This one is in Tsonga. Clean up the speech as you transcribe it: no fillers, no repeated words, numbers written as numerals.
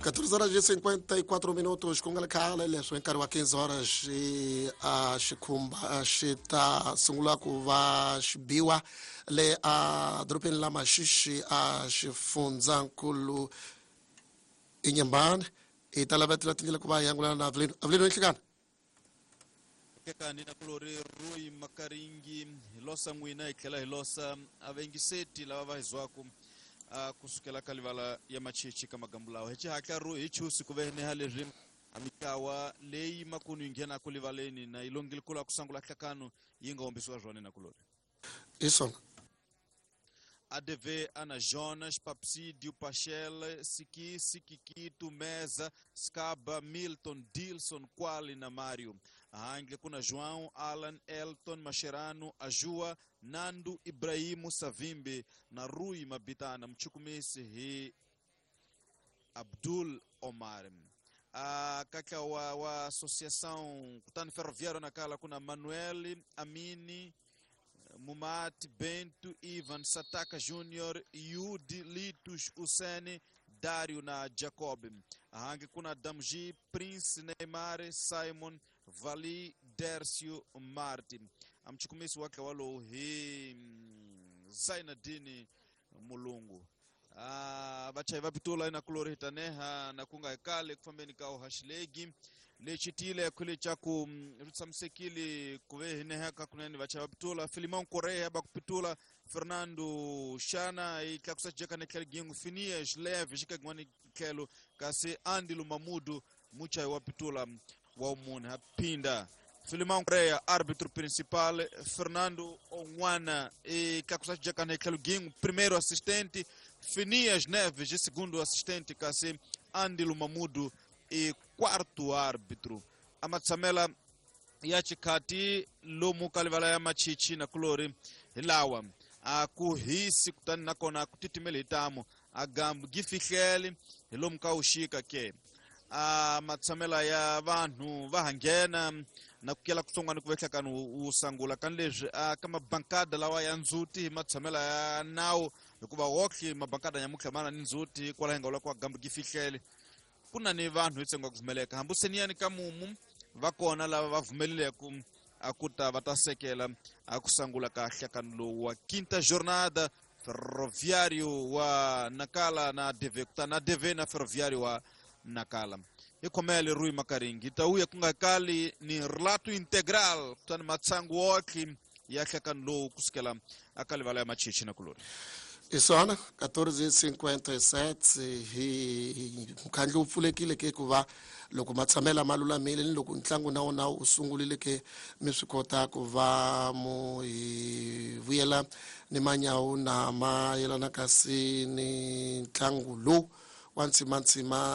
14 horas e 54 minutos ku nga ri khale leswi hi nkarhi wa 15 horas a xikhumba xi ta sungula ku va xi biwa le a dorobeni la Maxixi a xifundzankulu Inhambane. Hi ta lavetela tindlela ku va hi angulana na Avelino. Avelino, inhlekani. Kekani na kulori Roy Makaringi, hi losa n'wina hi tlhela hi losa avengiseti lava va hi zwaku kusukela ka livala ya Machichi ka magambu lawa hi xihatla ro hi chusi ku veneha leswi a mitlawa leyi makunu yi nghenaku livaleni na yi longile kula ku sangula hlakano yi nga hombisiwa zwona na kulori. Hi swona. ADV Ana Jonas, Papsídio, Pachel, Siki, Sikikitu, Mesa, Scaba, Milton, Dilson, Quali na Mário. Handle kuna João, Alan, Elton, Mascherano, Ajua, Nando, Ibrahimu, Savimbi na Rui Mabitana. Mchukumisi hi Abdul Omar. Kaka wa Associação Kutani Ferroviário Nacala kuna Manuel, Amini, Mumati, Bento, Ivan, Sataka Júnior, Yudi, Litos, Usene, Dário na Jacob. Hangi kuna Damji, Prince, Neymar, Simon, Vali, Dércio, Martin. Amchukumisi wake walo hi Zainadini Mulungu. Vachai vapitula ina kulori hitaneha na kunga hekale kufambeni kao hashilegi lechitile kule chaku rutsamsekili kuve hineha kakuneni vachai vapitula Filimão Correia bakupitula Fernando Shana ikakusajeka nekele gingu Finias Leve shikagwani kelo kasi Andilo Mamudu muchai wapitula wa umune hapinda Filimão Correia, árbitro principal, Fernando Onwana e Kakusajeka nekele gingu primeiro assistente, Finias Neves segundo assistente, kasi Andilo Mamudu e quarto árbitro. Amatsamela ya chikati lomu kalivala ya Machichi na kulori hilawa akuhisi kutani nakona kutitimele hitamu agambu gifihlele hilomu kaushika ke matsamela ya vanhu va hangena na kukela kutsongwana ku vehlakani wu sangula kani leswi ka mabankada lawa ya ndzhuti hi matshamela ya nawu hikuva wohle mabankada nyamutlha mana ni ndzhuti kwala hi nga vula ku agambu gifihlele ku na ni vanhu hi tsengo ku pfumeleka hambi seniyani ka mumu va kona lava va pfumeleleke ku ta va ta sekela a ku sangula ka hlakano lowu wa quinta jornada Ferroviário wa Nacala na ADV kutani ADV na Ferroviário wa Nacala. Hi khomele Rui Makaringi ta uya ku nga kali ni relato integral kutani matsangu wohle ya hlakano lowu kusukela aka livala ya Machichi na kulori. Isona 14:57 hi mukhandlu wu pfulekile ke ku va loko matshamela ma lulamile ni loko ntlangu na wona wu sungurile ke mi swi kota ku va mu hi vuyela ni manyawu na ma yelana kasi ni ntlangu lowu wa ntsimantsima.